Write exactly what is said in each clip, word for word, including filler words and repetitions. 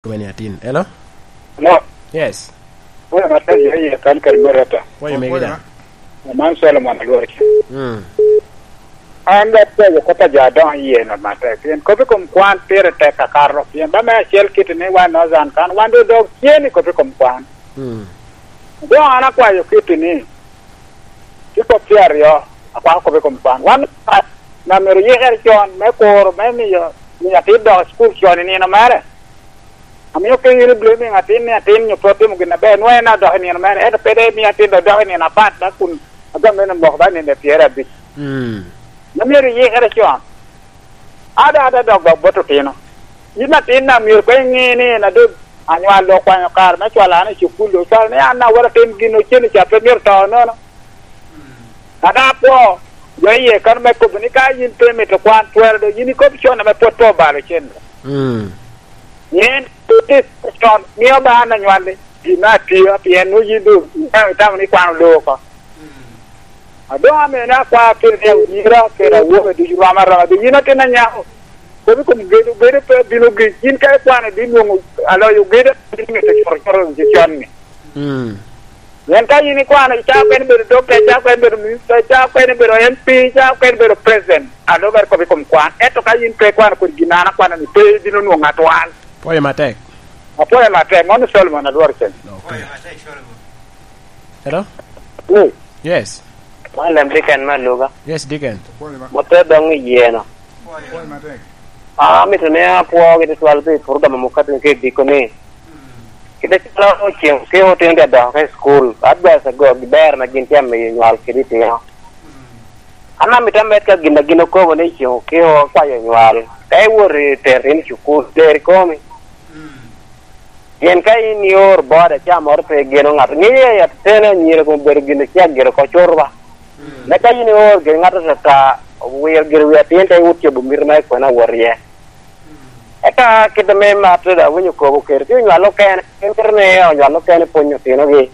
Kome ni atin. Hello? Hello? Yes. Pwoyo matek jo iye kan kadi me reta. Pwoyo megi da. Aman Solomon alwor ca. Mm. An dok pwoyo kop a jo adoŋo iye no matek. Pien kop i kom kwan pire tek akato. Pien ba me acel kiti ni wan Northern kan, wan dok dok tye ni kop i kom kwan. Mm. Doŋ an akwayo kiti ni, i kop tye aryo, akwako kop i kom kwan. Wan na myero yikere con me kuro, me miyo, miyo atin dok i cukul con i nino mere. Amio pe in iblaming atin ni atin nyo pe otimo gin aber, nwoŋo en adok i nino mere, ento pe dok imio atin dok dok i nino apat, dok kun agam mene moko ba nino pyerabicel. Mm. Mom myero iyikere con. Ada, ada dok ba bot otino. Yin atin na myero koŋ iŋe ni en adek anywal dok okwanyo kare me cwalo an i cukul, dok cwalo ni an awot atim gin ocen ca pe myero to nono. Ada akwo, jo iye kan me kobo ni ka yin pe mito kwan twero do, yin ikob con ame pwod pe obalo cen. Mm. Yen, con, mio ba an anywalli, gin me atio, pien nwoŋo yin doŋ itamo, itamo ni kwan oloo oko. A doŋ amene akwao kede ni awira kede awobe ducu rom aroma, doŋ yin atin anyako. Kop i kom gedo, gedo pe bino gi, yin ka ikwano ibino nwoŋo aloyo gedo, ibino mito coro coro i con-ni. Mm. Pien ka yin ikwano, icaa okene bedo dokta, icaa okene bedo minista, icaa okene bedo M P, icaa okene bedo president, a lubere kop i kom kwan. Ento ka yin pe ikwano kodi gin an akwano-ni, pe ibino nwoŋo atwal. Pwoyo matek. Apwoyo matek, mano Solomon alwor cen. Okay. Hello? Ni, yes. Man lem Diken me Aluga. Yes, Diken. Mote doŋ i yeno. Amito ni apwo gi tutwal pi program mukati ke diko ni. Kite calo oceŋ ke otino dya dok i school, advice ago gi ber na gin tye amiyo nywal kede itino. An amito amed ka gin a gin okobo ni oceŋ ke okwayo nywal. Ka iwot i tero in i cukul, ler ikomi. Pien ka in ioro boda, ca moro pe igeno ŋat. Ŋeye ateni anyira kun obedo gin ocek gire oko curuba. Mm. Me ka in ioro gire ŋat atata, wiro gire wi atin te iwot cobo mito ma ikwena wot iye. Mm. Eka kit ame matte da awinyo kobo kede, tye onywal okene, en kite ni onywal okene pwonyo otinogi.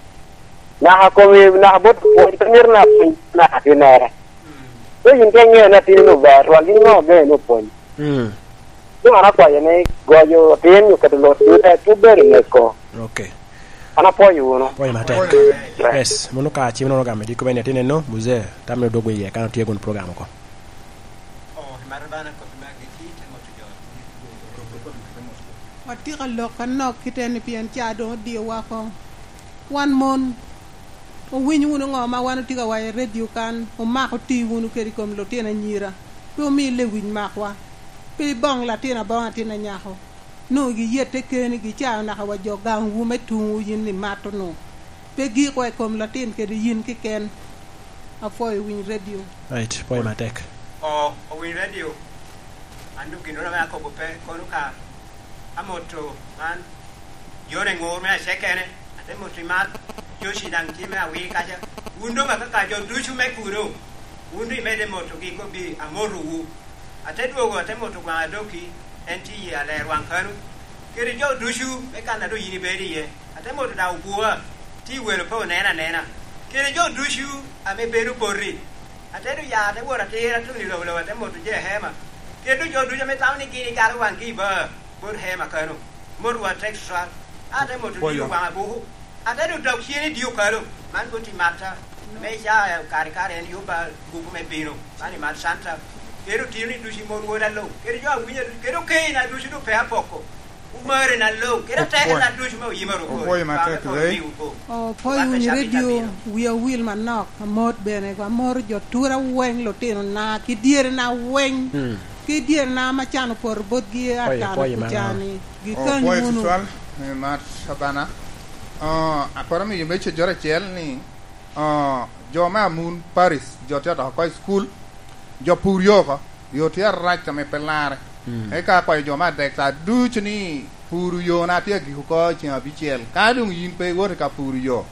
Naka komi, naka bot pwony, pe mito na pwony naka atinnere. Mm. Pe yin ka iŋeo ni atin-ni ber, rwal gin ŋo gene ni opwony. Mm. Ci wan akwayo ni goyo tin nyo keto lot ducu te tye bedo neko. Ok. An apwoyo wunu. Pwoyo matek. Yes, mano ka cim nono gamo diko bene atin eno, muzee, tam ni odwog iye, kan otye kun program oko. Watye ka lok anok kite ni pien ca doŋ odie woko. Wan mon, owiny wunu ŋo ma wan otye ka waco i redio kan, omako ti wunu kede i kom lutino anyira, pe omi lewic makwa, pe iboŋ latin aboŋa atin anyako, nwoŋo giyette kenigi ca naka wa jo gaŋwu me tuŋwu yin imato-nu, pe gikwa i kom latin kede yin keken. Apwoyo winy redio. Right, pwoyo matek. O, owiny redio. An doŋ gin ame akobo pe kono ka amoto man. Jone ŋur me acekene, ate moto i mal, Joci daŋ tye me awir kaca. Wun doŋ akaka jo ducu me kuno, wun doŋ imedde motogi, ikobbi, "Amotowu." Ate dwogo, ate moto gwaŋ adoki, en tye i aler waŋ kano, kede jo ducu me kan a doŋ yin ibedo iye. Ate moto daŋ obwoa, tye i welo pe onen anena, kede jo ducu ame bedo poti. Ate doŋ ya, ate wot atir atun i lobolobo, ate moto je hema, kede doŋ jo ducu ame tamo ni gin ikalo waŋgi i baa. Bot hema kano, mot wa tek tutwal. Ate moto dio waŋ abuku. Ate doŋ dok cen i dio kalo. Man bot i matta. Me ca kare kare en yubba buku me bino. Man i mat Santa. Kede otino ni ducu i mon woda luŋ. Kede jo awinyo, kede okeina ducu doŋ pe apoko. Umari na luŋ. Kede atekina ducu me oyima rukori. Opwoyo matek, Lei. Opwoyo winy redio, wi awil manok, amot bene, amot jo tura weng, lutino na, ki dyere na weng. Hmm. Ki dyere na ma can opoto botgi atano kucani, gikany wunu. Opwoyo tutwal, eh, Mat Abana. Oh, aporo miyo me cejoro acel ni, oh, jo me Amun Paris, jo tye odoko oko i cukul, jo pur yo oko, yo tye arac ame pe larre. Mm. Eka akwayo jo me adek ca ducu ni pur yo na tye agik oko i ceng abicel. Ka doŋ yin pe iwot i ka pur yo,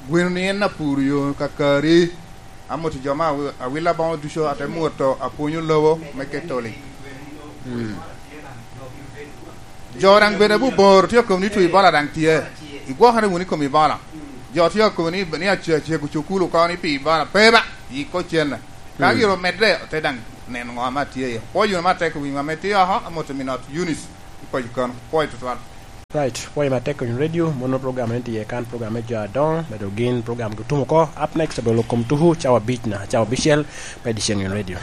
gweno ni en apur yo kakari. Amot i jo me awi-, awila boŋo ducu, ate moto apwonyo lobo me Ketoli. Mm. Jo daŋ bene buboro tye okobo ni two Ebola daŋ tye. Igwokere wunu i kom Ebola. Jo tye okobo ni, ni ace-, acego cukulu oko ni pi Ebola. Pe ba, yik ocenne. Ka gire omedde, ote daŋ neno ŋo ame atye iye. Pwoyo wunu matek i wi ŋo ame tye oko, amot i Minot Eunice, i paco kano. Pwoyo tutwal. Right, pwoyo matek Onyun Radio, mono program en tye kan program me jo adoŋo, medo gin program gi tum oko. Up next, abolo kom tuku, cawa abic na, cawa abicel, me edition Onyun Radio.